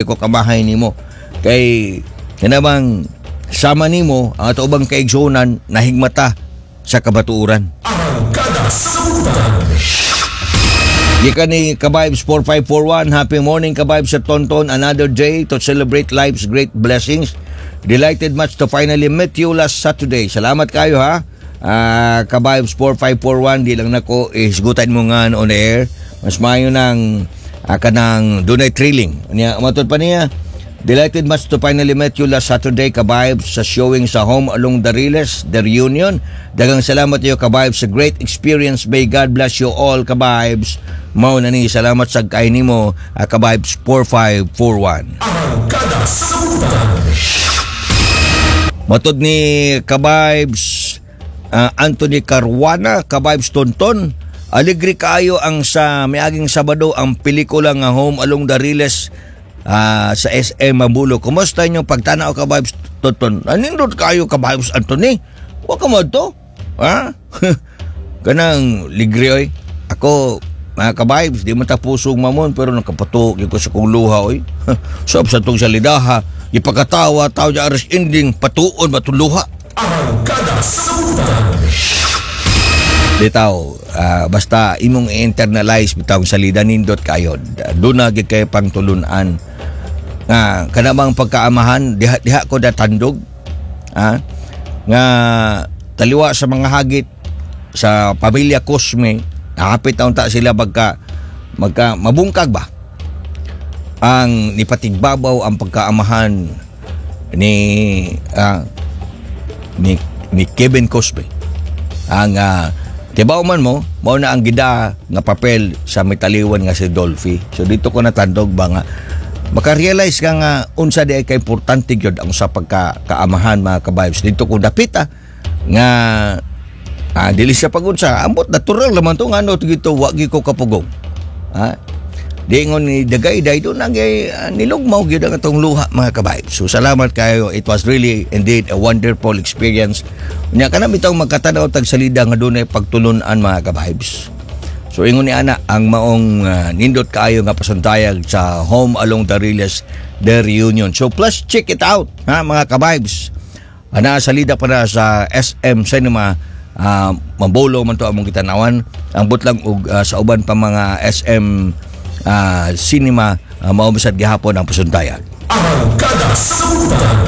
ko kamahay nimo kay kanabang sama nimo ang ato ubang kaigsuonan nahigmata sa kabatuoran. Arangkada sa Butang. Gikan ni Kabibes 4541, happy morning, Kabibes sa Tonton, another day to celebrate life's great blessings. Delighted much to finally meet you last Saturday. Salamat kayo ha. Kabibes 4541, di lang nako isgutan mo nga on air. Mas maayo nang kanang dunay thrilling. Niya, matod pa niya, "Delighted much to finally met you last Saturday, Kabibes, sa showing sa Home Along the Riles, The Reunion. Daghang salamat iyo, Kabibes, sa great experience. May God bless you all, Kabibes." Mao na ni, salamat sa kay nimo, Kabibes 4541. Arangkada sa Butang. Matod ni Kabibes Anthony Caruana, "Kabibes Tonton, aligre kaayo ang sa miaging Sabado ang pelikula nga Home Along the Riles sa SM Mabolo. Kumusta inyong pagtanaw, Kabibes Tonton?" Anindot kayo, Kabibes Anthony. Wa ka mo to? Ha? Kanang ligre oy. Ako, mga kabibes, di man ta pusong mamon pero nakapatuok ko sa kong luha oy. Sab sa tong salidaha, ipakatawa tao di aras ending patuon ba tong luha. Arangkada sa Butang. Di tao, basta imong i-internalize bitaw ang salida, nindot kayo. Doon na gid kay pangtulunan. Nga kanamang pagkaamahan diha diha ko datandog. Nga taliwa sa mga hagit sa pamilya Cosme, nakapit na unta sila magka magka mabungkag ba ang nipatigbabaw ang pagkaamahan ni Kevin Cosme ang tibaw man mo mao na ang gida nga papel sa mitaliwan nga si Dolphy. So dito ko natandog ba nga makarealize ka nga unsa di ay ka importante gyud ang sa pagka kaamahan, mga kabibes. Dito ko dapita nga dili siya pagunsa, ambot natural naman to nga ano dito wa gyud ko kapugong ha. Di ingon ni dagay do nang nilugmaw gyud ang atong luha, mga kabibes. So salamat kayo. It was really indeed a wonderful experience. Nya kana bitong magkatanaw tag salida nga dunay pagtulunan, mga kabibes. So ingon ni ana ang maong nindot kaayo nga pasundayag sa Home Along the Riles, The Reunion. So plus check it out ha, mga kabibes. Ana salida pa na sa SM Cinema Mabolo man to among gitanawan. Ang butlang og sa uban pa mga SM Cinema mao bisad gihapon ang pasundayag. Arangkada sa Butang.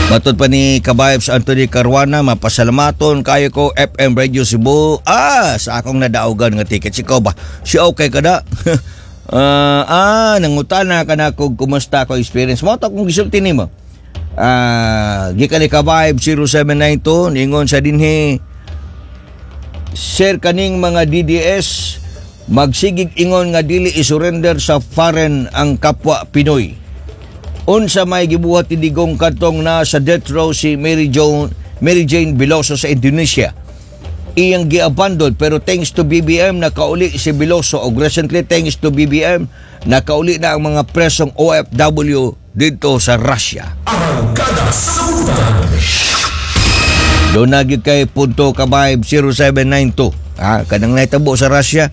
Matod pa ni Kabibes Anthony Caruana, "Mapasalamaton kayo ko FM Radio Cebu sa akong nadaugan nga ticket." Sikaw ba? Siya okay kada? Nangutana ka na kung kumusta ako experience. Mo to kung gisulti nimo. Gikan ni Kavibe 0792, ningon sa dinhi, "Sir, kaning mga DDS magsigig ingon nga dili i-surrender sa foreign ang kapwa Pinoy. Unsa may gibuhat ni Digong kadtong na sa death row si Mary Jane Veloso sa Indonesia? Iyang giabandon, pero thanks to BBM nakauli si Veloso og recently, thanks to BBM, nakauli na ang mga presong OFW dito sa Russia." Arangkada sa Butang. Doon na gyud kay punto, Kavibe 0792. Kanang nahitabo sa Russia,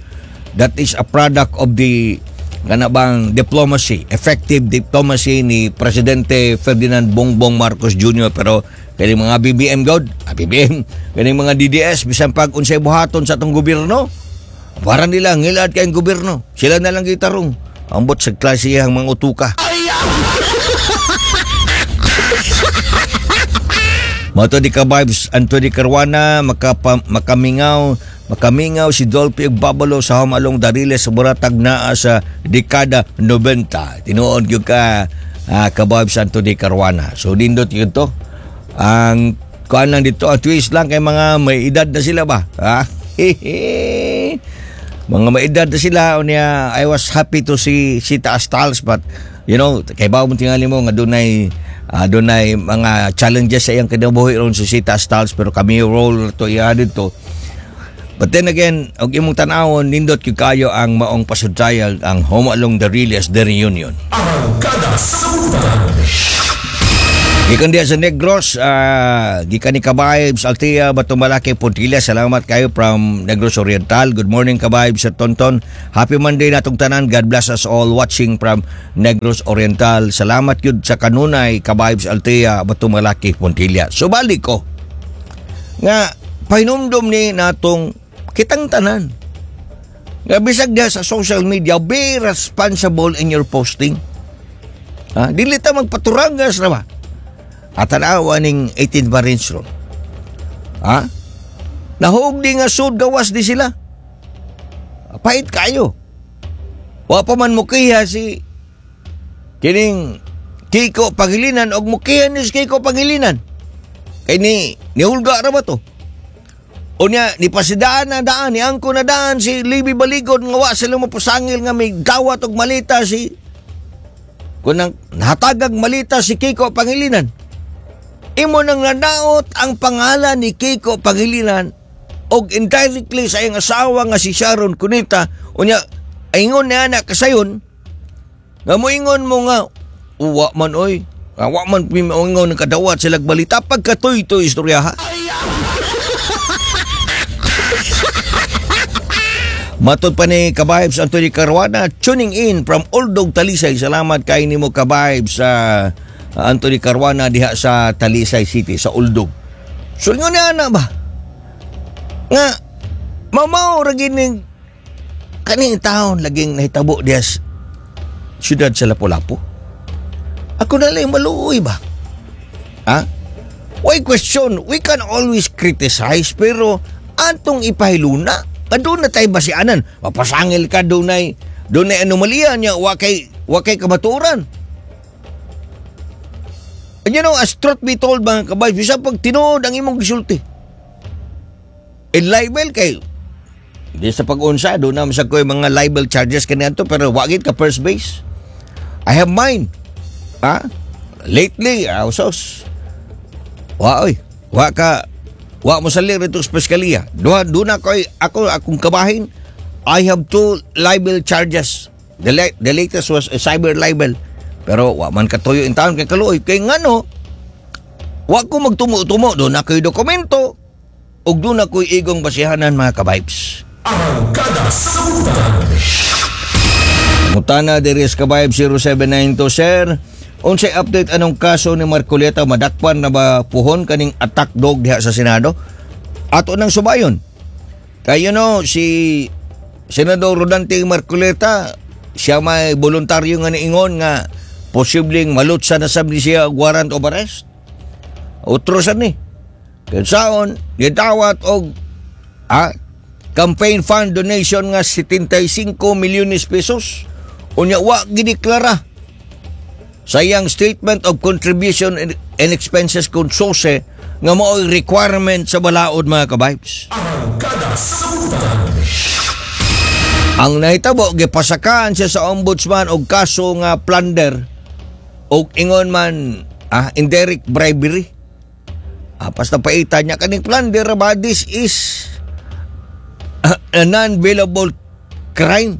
that is a product of the kana bang diplomacy, effective diplomacy ni Presidente Ferdinand Bongbong Marcos Jr. Pero kani mga BBM god, BBM, kani mga DDS, bisan pag unsay buhaton sa atong gobyerno, para nila ngilad kay gobyerno. Sila na lang gitarong. Ambot sa klase ang mga utuka. Mato di ka vibes Anthony Caruana, makamingaw si Dolphy ug Babalo sa Home Along Dariles sa Buratag naa sa dekada 90. Tinuod gyud ka, ka vibes Anthony Caruana. So nindot gyud to. Ang kuan lang dito, ang twist lang kay mga may edad na sila ba? Ha? Mga may edad na sila unya. I was happy to see Sita Astals, but kay bawo mo tingali mo nga dunay mga challenges sa iyang kinabuhi ron si Sita Stals, pero kami role to iya dito. But then again, og imong tan-awon, nindot gyud kayo ang maong pasudtayag ang Home Along the Riles, The Reunion. Arangkada sa Butang. Gikan diya sa Negros, gikan ni Kabibes, Altea, Batumalake, Puntilla. Salamat kayo from Negros Oriental. Good morning, Kabibes sa Tonton. Happy Monday natong tanan. God bless us all watching from Negros Oriental. Salamat yun sa kanunay, Kabibes Altea, Batumalake, Puntilla. So balik ko nga pahinumdum ni natong kitang tanan nga bisag diha sa social media, be responsible in your posting. Ha? Dili ta magpaturangas na ba? At tanawa ning 18 Marines ron. Ha? Nahug di nga sud gawas di sila. Pait kayo. Wa pa man mukiha si kining Kiko Pangilinan og mukiha ni si Kiko Pangilinan. Kay ni nihulga ra ba to? Unya ni pasidaan na daan, ni angko na daan si Libby Baligod nga wa sila mapasangil nga may dawat og malita si kung nang nahatagag malita si Kiko Pangilinan. Imo nang nanaot ang pangalan ni Kiko Pangilinan og indirectly sa iyang asawa nga si Sharon Cuneta. Unya ingon niya na kasayon nga moingon mo nga uwa man oy, wa man ingon ng kadawat sila balita pagkatoy-toy istorya ha. Matod pa ni Kabibes Anthony Caruana, tuning in from Oldog, Talisay. Salamat kay nimo, Kabibes Anthony Caruana, diha sa Talisay City, sa Oldog. So ingon niya na ba? Nga mamao ra gining kaning taon laging nahitabo diha sa siyudad sa Lapu-Lapu. Ako na lang maluoy ba? Ha? Why question? We can always criticize pero atong ipahiluna. Doon na tayo basianan. Mapasangil ka, doon ay anomalya niya, wa kay kamatuoran. And as truth be told, mga kabay, bisa pag tinuod ang imong gisulti. In libel kay, di sa pag-unsa, doon naman sa ko mga libel charges kaniadto, pero wagit ka first base. I have mine. Ha? Lately, sos. Wa oy, wa ka wa mo sa rito sa piskalya. Duha doon ako ako akong kabahin. I have two libel charges. The latest was a cyber libel. Pero wa man katuyo in taon kay kaluoy kay ngano wa ko magtumo-tumo, doon ako'y dokumento ug doon ako'y igong basihanan, mga kabibes. Arangkada sa Butang. Mutana diri sa Kabayb 0792, sir. Unsay update anong kaso ni Marcoleta, madakpan na ba puhon kaning attack dog diha sa Senado? Ato nang subayon. Kay si Senador Rodante Marcoleta, siya may voluntaryo nga niingon nga posibleng malutsa na sab ni siya og warrant of arrest. Utro sad ni. Kaya saon, gidawat og campaign fund donation nga 75 milyones pesos. Unya wa gideklara sa iyang statement of contribution and expenses kung SOCE nga mao'y requirement sa balaod, mga kabibes. Arangkada sa Butang. Ang nahitabo, gipasakaan siya sa ombudsman og kaso nga plunder og ingon man indirect bribery. Basta paitan niya kaning plunder ba, this is a non-bailable crime.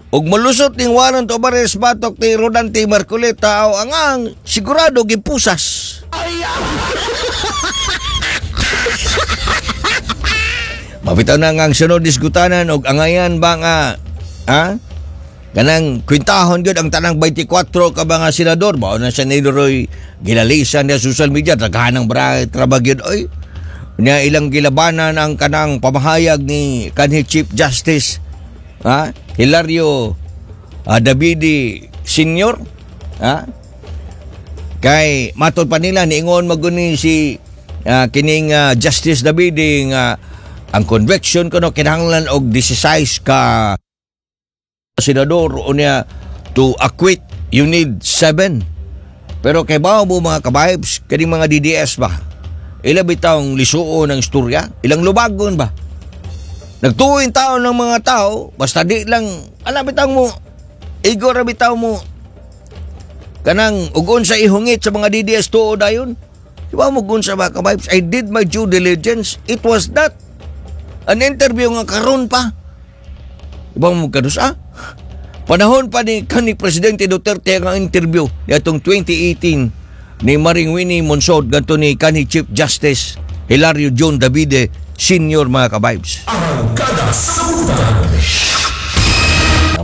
Og malusot ning warrant of arrest batok ni Rodante Marcoleta o ang sigurado gipusas. Mapitaw na nga ang sunod diskutanan og angayan ba nga kanang kwintahon gyud ang tanang 24 ka mga senador mao na siya ni Roy gilalisan niya social media, daghan ang trabag gyud oy niya, ilang gilabanan ang kanang pamahayag ni kanhi Chief Justice Hilario Davide Senior, kay matod pa nila niingon maguni si kining Justice Davide nga ang conviction kuno kinahanglan og 16 ka senador, unya to acquit you need 7. Pero kay bawo mo, mga kabibes, kaning mga DDS ba, ila bitawng lisuon ng istorya, ilang lubagon ba, nagtuwing tao ng mga tao basta di lang ala bitaw mo igo ra bitaw mo kanang ugon sa ihungit sa mga DDS tuo dayon. Di ba mo gun sa mga kabibes, I did my due diligence. It was not an interview nga karon pa. Di ba mo kadus panahon pa ni kani Presidente Duterte ang interview niadtong 2018. ni Maring Winnie Monsod ngadto ni kanhi Chief Justice Hilario John Davide Senior, mga ka-vibes. Arangkada sa Buntag.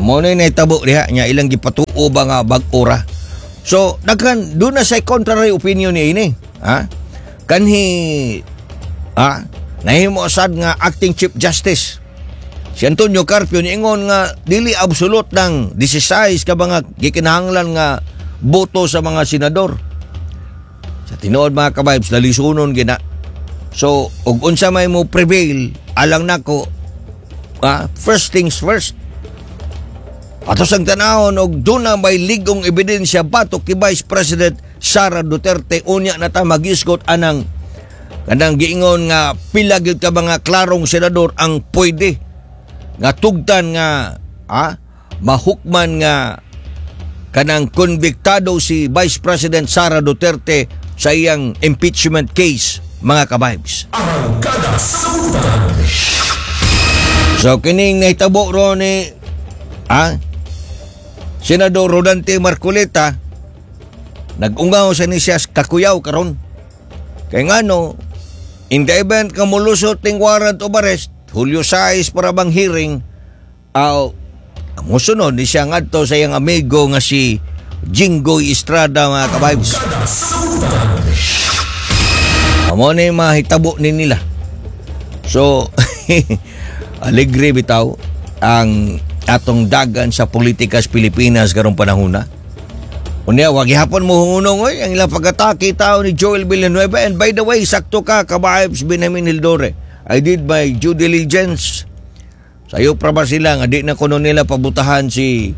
Mo na nahitabo diha nya ilang gipatuo ba nga bag-o ra. So daghan duna say contrary opinion ni ini, ha? Kanhi nahimo sad nga acting Chief Justice si Antonio Carpio, niingon nga dili absolute ng 16 ka mga gikinahanglan nga boto sa mga senador. Sa tinuod, mga ka-vibes, lalisunon gina. So, ug unsa may mo prevail, alang nako, first things first. Ato sang tanahon og duna may ligong ebidensya batok kay Vice President Sara Duterte, unya na ta magisgot anang kanang giingon nga pila gyud ka mga klarong senador ang pwede nga tugtan nga mahukman nga kanang konbiktado si Vice President Sara Duterte sa iyang impeachment case, mga ka-vibes. Arangkada sa Buntag. So kining nahitabo ro ni Senador Rodante Marcoleta, nag-ungaw sa ni siya kakuyaw karon. Kay ngano, in the event nga molusot ning warrant of arrest, Hulyo 6 para bang hearing, aw musunod ni siya ngadto sa iyang amigo nga si Jinggoy Estrada, mga ka-vibes. Arangkada sa Buntag. Amo na yung mahitabo ni nila. So, alegre bitaw ang atong dagan sa politika sa Pilipinas karong panahon na. Unya, wag gihapon mo hunong oy ang ilang pag-atake tao ni Joel Villanueva. And by the way, sakto ka, ka-vibes Benjamin Hildore. I did my due diligence. Sayo pra ba sila nga di na kuno nila pabutahan si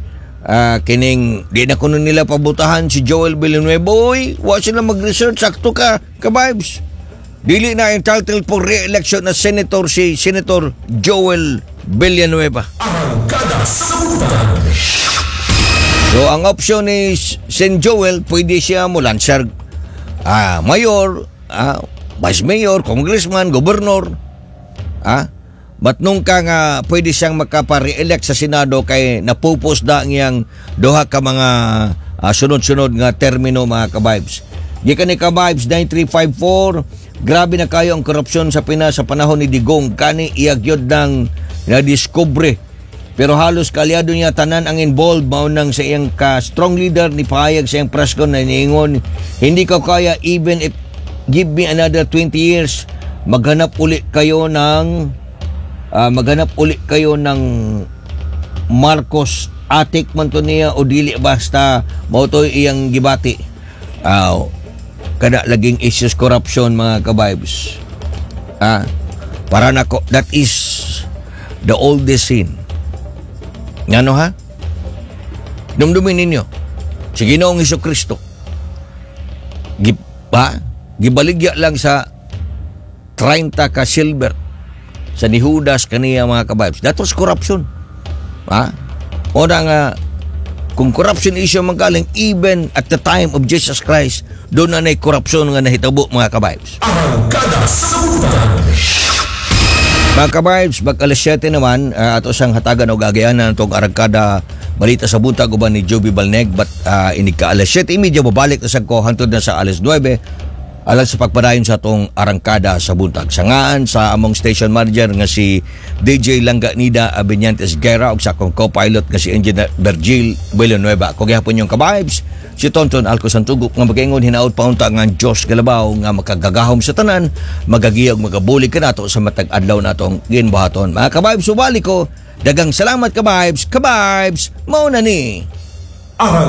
kining di na kuno nila pabutahan si Joel Villanueva. Oy, wa sila mag-research. Sakto ka, ka-vibes. Dili na entitled for re-election na senator si Senator Joel Villanueva. Arangkada sa Buntag. So ang option ni Sen Joel, pwede siya mo lansar mayor, vice mayor, congressman, gobernador. But nung ka nga pwede siyang makapa-re-elect sa Senado kay napupos da ang iyang duha ka mga sunod-sunod nga termino, mga ka-vibes. Gikan ni ka-vibes 9354, grabe na kayo ang korupsyon sa Pinas sa panahon ni Digong, kani iyagyod ng nadiskubre. Pero halos kalyado niya tanan ang involved, mao nang sa iyang ka strong leader ni pahayag sa iyang press con na niingon, "Hindi ko kaya even if give me another 20 years, maghanap uli kayo ng Marcos." Atik man to niya o dili, basta mao to iyang gibati. Kada laging issues corruption, mga ka-vibes. Para nako, that is the oldest sin. Ngano ha? Dumdumin ninyo si Ginoong Hesus Kristo. Gibaligya lang sa 30 ka silver sa ni Judas kaniya, mga ka-vibes. That was corruption. Ha? O na nga, kung corruption issue man galing, even at the time of Jesus Christ, doon na na'y corruption nga nahitabo, mga ka-vibes. Arangkada sa Buntag. Mga ka-vibes, bag alas 7 naman, ato siyang hatagan og agayanan itong Arangkada Balita sa Buntag uban ni Joby Balneg, but inig ka alas 7:30 babalik na sa ko hantod na sa alas 9 alang sa pagpadayon sa atong Arangkada sa Buntag. Sa ngaan sa among station manager nga si DJ Langganida Abinyantes Guerra ug sa akong co-pilot nga si Engineer Virgil Villanueva. Ako gihapon inyong ka-vibes, si Tonton Alco Santugok, nga magaingon hinaot paunta nga ang Diyos galabaw nga makagagahom sa tanan magagiya ug magabulig kanato sa matag adlaw natong ginbuhaton. Mga ka-vibes, subali ko. Dagang salamat, ka-vibes, ka-vibes, mao na ni. Arang